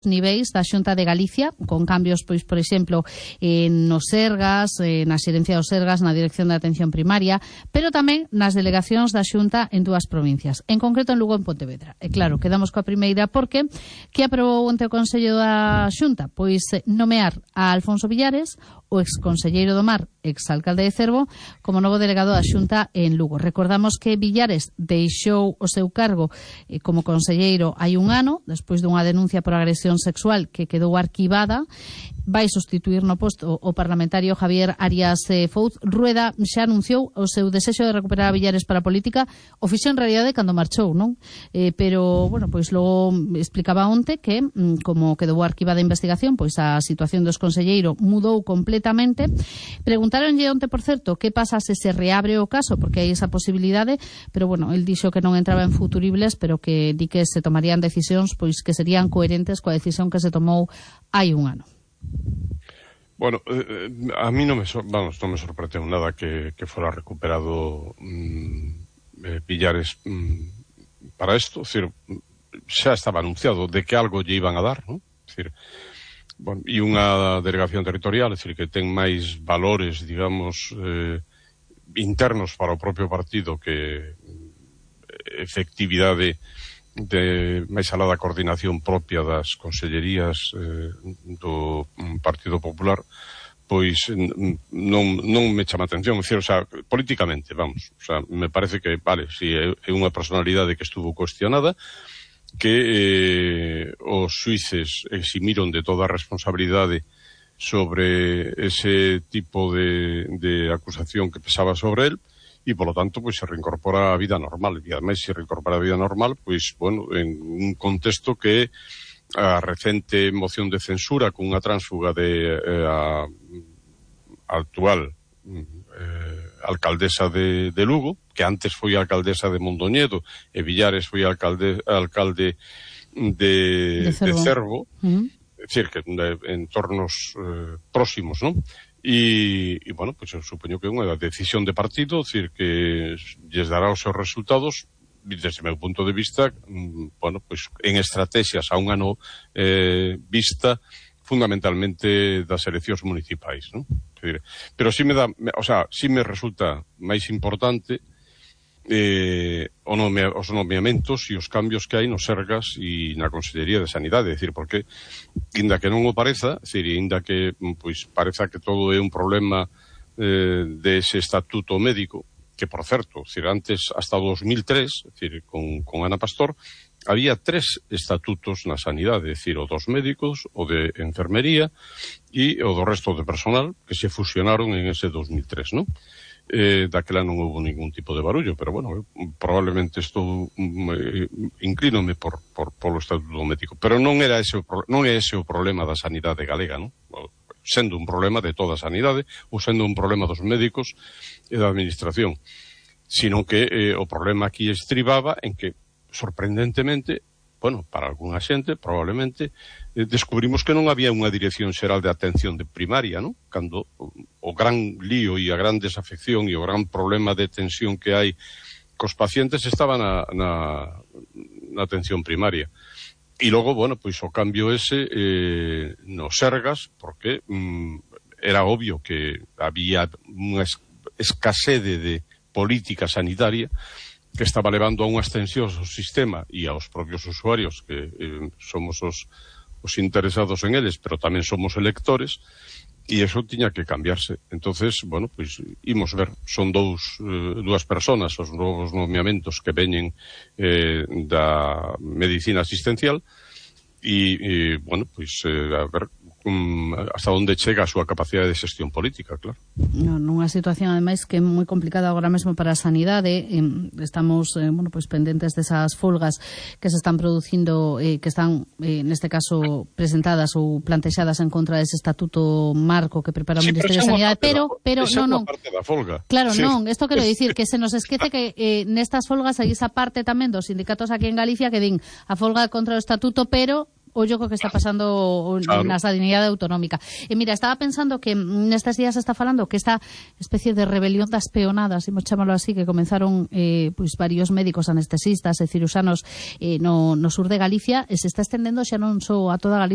niveis da Xunta de Galicia, con cambios, pois, por exemplo, nos Sergas, na xerencia dos Sergas, na Dirección de Atención Primaria, pero tamén nas delegacións da Xunta en dúas provincias, en concreto en Lugo e en Pontevedra. E claro, quedamos coa primeira porque que aprobou onte o Consello da Xunta? Pois nomear a Alfonso Villares, o exconselleiro do Mar, exalcalde de Cervo, como novo delegado da Xunta en Lugo. Recordamos que Villares deixou o seu cargo como conselleiro hai un ano, despois dunha denuncia por agresión sexual que quedou arquivada. Vai sustituir no posto o parlamentario Javier Arias Fouz. Rueda xa anunciou o seu desexo de recuperar a Villares para a política. O fixo en realidade cando marchou, non? Pero, bueno, pois logo explicaba onte que, como quedou arquivada a investigación, pois a situación do exconselleiro mudou completamente. Preguntáronlle onte, por certo, que pasa se se reabre o caso, porque hai esa posibilidade, pero, bueno, el dixo que non entraba en futuribles, pero que di que se tomarían decisións pois que serían coherentes coa decisión que se tomou hai un ano. Bueno, a mí non me sorprendeu nada que fora recuperado Villares para isto. Es decir, xa estaba anunciado de que algo lle iban a dar, ¿no? Es decir, bueno, e unha delegación territorial, es decir, que ten máis valores, digamos, internos para o propio partido que efectividade de máis alá da coordinación propia das consellerías do Partido Popular, pois non me chama atención. O sea, políticamente, vamos, o sea, me parece que, vale, si é unha personalidade que estuvo cuestionada, que os xuíces eximiron de toda a responsabilidade sobre ese tipo de acusación que pesaba sobre él, e, polo tanto, pois se reincorpora a vida normal. E, ademais, se reincorpora a vida normal, pois, bueno, en un contexto que a recente moción de censura cunha tránsfuga de a actual alcaldesa de Lugo, que antes foi alcaldesa de Mondoñedo, e Villares foi alcalde de Cervo, é dicir, que en entornos próximos, non? E, bueno, pois eu supoño que é unha decisión de partido, é dicir, que lles dará os seus resultados, desde o meu punto de vista, bueno, pois en estrategias a un ano vista fundamentalmente das eleccións municipais, non? Pero sí me dá, o sea, sí me resulta máis importante os nomeamentos e os cambios que hai nos Sergas e na Consellería de Sanidade, é dicir, porque inda que non o pareza, é dicir, inda que pois pareza que todo é un problema dese estatuto médico, que por certo, é dicir, antes hasta 2003, é dicir, con Ana Pastor, había 3 estatutos na sanidade, é dicir, o dos médicos, o de enfermería e o do resto de personal, que se fusionaron en ese 2003, non? Daquela non houve ningún tipo de barullo, pero bueno, probablemente estou inclínome polo estatuto médico, pero non é ese o problema da sanidade galega, non? Sendo un problema de toda a sanidade ou sendo un problema dos médicos e da administración, sino que o problema aquí estribaba en que, sorprendentemente, bueno, para algunha xente, probablemente, descubrimos que non había unha Dirección Xeral de Atención de Primaria, non? Cando o gran lío e a gran desafección e o gran problema de tensión que hai cos pacientes estaba na atención primaria. E logo, bueno, pois o cambio ese nos Sergas, porque era obvio que había unha escasede de política sanitaria que estaba levando a unhas tensións ao sistema e aos propios usuarios, que somos os interesados en eles, pero tamén somos electores, e eso tiña que cambiarse. Entonces, bueno, pois imos ver, son dúas personas os novos nomeamentos que veñen da medicina asistencial e bueno, pois a ver hasta onde chega a súa capacidade de xestión política, claro. Nunha situación, ademais, que é moi complicada agora mesmo para a sanidade. Estamos, bueno, pois pendentes desas folgas que se están producindo, que están, neste caso, presentadas ou plantexadas en contra dese estatuto marco que prepara o Ministerio de Sanidade, pero non. Parte da folga. Claro, sí. Non, isto quero dicir que se nos esquece que nestas folgas hai esa parte tamén dos sindicatos aquí en Galicia que din a folga contra o estatuto, pero ollo co que está pasando na sanidade autonómica. E mira, estaba pensando que nestes días se está falando que esta especie de rebelión das peonadas, imos chamalo así, que comenzaron pois varios médicos anestesistas e ciruxanos no sur de Galicia, se está estendendo xa non só a toda Galicia,